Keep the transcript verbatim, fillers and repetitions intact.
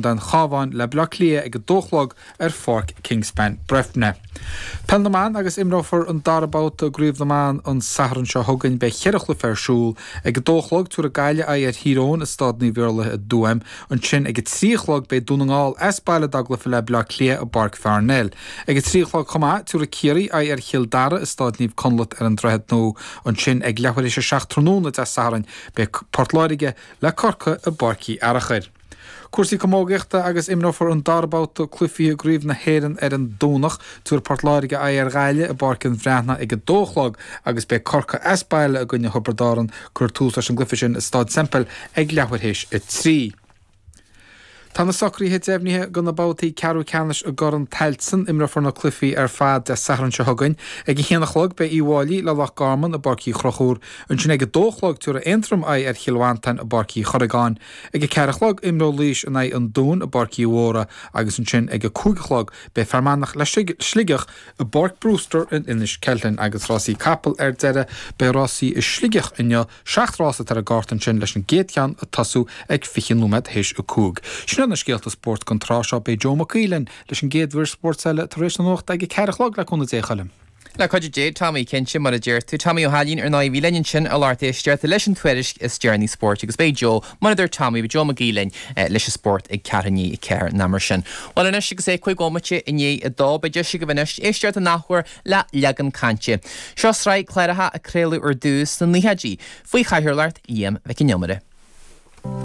an Chabháin le Baile Átha Cliath ag a dó a chlog ar Pháirc Kingspan Breifne. Peil na mBan agus imreofar an dara babhta i gCraobh na mBan an Satharn seo chugainn. Beidh cheithre chluiche ar siúl. Ag a dó a chlog tabharfaidh Gaillimh aghaidh ar Thír Eoghain i Staid Naomh Iarlaith i dTuaim. Ansin ag a trí a chlog beidh Dún na nGall as baile dá gcluiche le Baile Átha Cliath i bPáirc Pharnell. Ag a trí a chlog chomh maith tabharfaidh Ciarraí aghaidh ar Chill Dara i Staid Naomh Conleth ar an Droichead Nua. Ansin ag leathuair théis a seacht tráthnóna Dé Sathairn beidh Port Láirge le Corcaigh i bPáirc Uí Fhearachair. Cúrsaí camógaíochta agus imreofar an dara babhta cluichí i gCraobh na hÉireann ar an Domhnach. Tabharfaidh Port Láirge aghaidh ar Ghaillimh i bPáirc an Bhreathnaigh ag a dó a chlog agus beidh Corcaigh as baile i gcoinne Thiobraid Árann. Cuirfear tús leis an gcluiche sin i Staid Semple ag leathuair théis a trí. Tá na socruithe deimhnithe do na babhtaí ceathrú ceannais i gCorn Tailteann. Imreofar na cluichí ar fad Dé Sathairn seo chugainn. Ag a haon a chlog beidh Uíbh Fhailí le Loch Garman i bPáirc Uí Chonchúir. Ansin ag a dó a chlog tabharfaidh Aontroim aghaidh ar Chill Mhantáin i bPáirc Uí Chorragáin. Ag a ceathair a chlog imreoidh Laois in aghaidh an Dúin i bPáirc Uí Mhórdha agus ansin ag a cúig a chlog beidh Fear Manach le Sligeach i bPáirc Brewster in Inis Ceithleann. Agus rásaí capall ar deireadh, beidh rásaí i Sligeach inniu, seacht rás atá ar an gcárta ansin leis an gcéad cheann ag tosú ag fiche nóiméad théis a cúig. Sin iad na scéalta spóirt don tráth seo. Beidh Joe Mac Aoidh linn leis an gcéad mhír spóirt eile tar éis na nuachta ag a ceathair a chlog le cúnamh Dé, a Choilm. Le cuidiú Dé, Tommy, cinnte, mar a deir tú. Tommy Ó hAilín ar ndóigh a bhí linn ansin a lucht éisteachta leis an tuairisc is deireanaí spóirt agus beidh Joe, mar a dúirt Tommy, beidh Joe Mac Aoidh linn leis an spórt ag ceathrú i ndiaidh a ceathair an am sin. Bhuel anois agus é cúig bhomaite i ndiaidh a dó, beidh deis agaibh anois éisteacht an athuair le Leagan Cainte. Seo sraith cláracha a craoladh ar dtús sna naochaidí faoi chathaoirleacht Liam Mhic Con Iomaire.